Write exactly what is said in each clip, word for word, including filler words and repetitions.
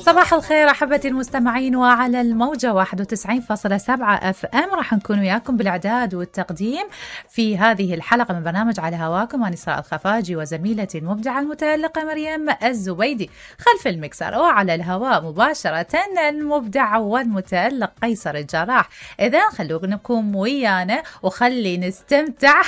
صباح الخير أحبتي المستمعين، وعلى الموجة واحد وتسعين فاصلة سبعة أف أم راح نكون وياكم بالإعداد والتقديم في هذه الحلقة من برنامج على هواكم. أنا إسراء الخفاجي وزميلتي المبدعة المتألقة مريم الزبيدي خلف المكسر، وعلى الهواء مباشرة المبدع والمتألق قيصر الجراح. إذا خلوكم ويانا وخلي نستمتع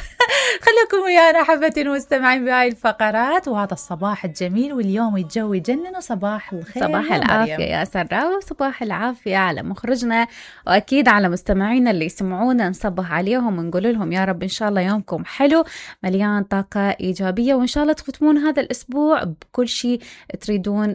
خلوكم ويانا أحبتي المستمعين بهاي الفقرات وهذا الصباح الجميل، واليوم الجو يجنن. وصباح الخير، صباح العافية يا سراء، وصباح العافية على مخرجنا وأكيد على مستمعينا اللي يسمعونا. نصبح عليهم ونقول لهم يا رب إن شاء الله يومكم حلو مليان طاقة إيجابية، وإن شاء الله تختمون هذا الأسبوع بكل شيء تريدون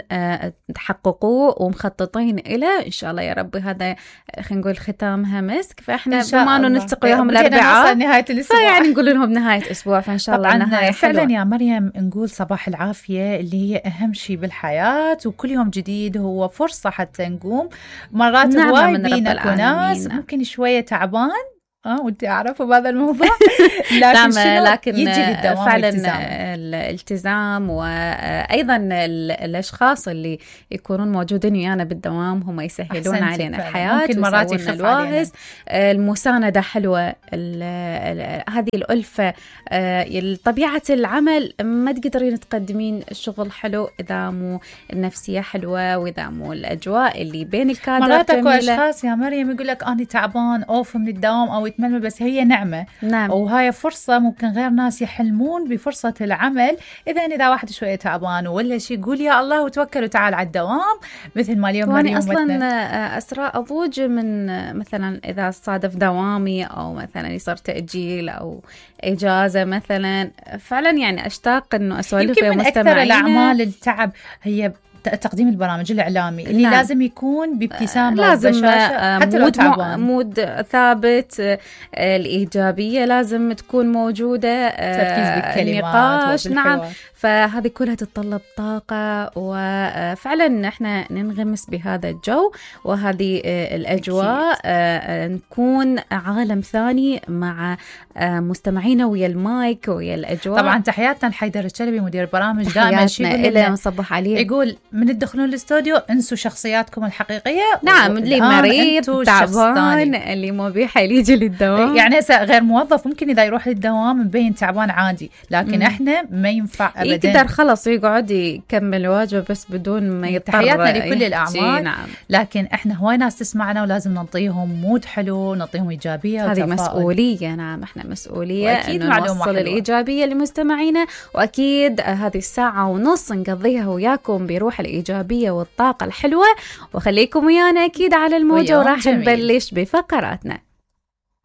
تحققوه ومخططين إلى إن شاء الله يا رب. هذا خلينا نقول ختامها مسك، فإحنا بما أنه نلتقي يوم الأربعاء نهاية الأسبوع، يعني نقول لهم نهاية أسبوع، فإن شاء الله نهاية فعلا يا مريم نقول صباح العافية اللي هي أهم شيء بالحياة، وكل يوم جديد هو فرصة حتى نقوم. مرات هواي بينك وناس ممكن شوية تعبان اه وانت اعرفوا بهذا الموضوع لكن, لكن يجي بالدوام فعلا الالتزام. الالتزام وايضا الاشخاص اللي يكونون موجودين ويانا بالدوام هم يسهلون علينا الحياه، ممكن مرات يخف الواهس. المسانده حلوه، هذه الالفه، طبيعه العمل ما تقدرين تقدمين الشغل حلو اذا مو النفسيه حلوه واذا مو الاجواء اللي بين الكادر. مرات اكو اشخاص يا مريم يقول لك انا تعبان اوف من الدوام او يتململ، بس هي نعمة. نعم. وهاي فرصة ممكن غير ناس يحلمون بفرصة العمل. إذا إذا واحد شوية تعبان ولا شيء قول يا الله وتوكل وتعال على الدوام، مثل ما اليوم مريم أصلا أسراء أضوج من مثلا إذا صادف دوامي أو مثلا يصير تأجيل أو إجازة مثلا، فعلا يعني أشتاق إنه أسولف يمكن من أكثر الأعمال التعب هي تقديم البرامج الإعلامي اللي نعم. لازم يكون بابتسامة، لازم حتى مود, لو مود ثابت، الإيجابية لازم تكون موجودة، تركيز بالكلمات النقاش. نعم، فهذه كلها تتطلب طاقة، وفعلا نحن ننغمس بهذا الجو وهذه الأجواء، نكون عالم ثاني مع مستمعينا ويا المايك ويا الأجواء. طبعا تحياتنا لحيدر الشلبي مدير البرامج، دائما شيء إلى نصبح عليه، يقول من تدخلون الاستوديو انسوا شخصياتكم الحقيقية. نعم، اللي مريض تعبان اللي مو بحيل يجي للدوام، يعني هسه غير موظف ممكن إذا يروح للدوام مبين تعبان عادي، لكن م. احنا ما ينفع أبدا يقدر خلص يقعد يكمل واجبه بس بدون ما يضطر. تحياتنا لكل الأعمال. نعم. لكن احنا هواي ناس تسمعنا ولازم نعطيهم مود حلو، نعطيهم إيجابية. هذه مسؤولية. نعم، احنا مسؤولية إنه نوصل الإيجابية لمستمعينا، وأكيد هذه الساعة ونص نقضيها وياكم بروح الإيجابية والطاقة الحلوة، وخليكم ويانا أكيد على الموجة وراح نبلش بفقراتنا.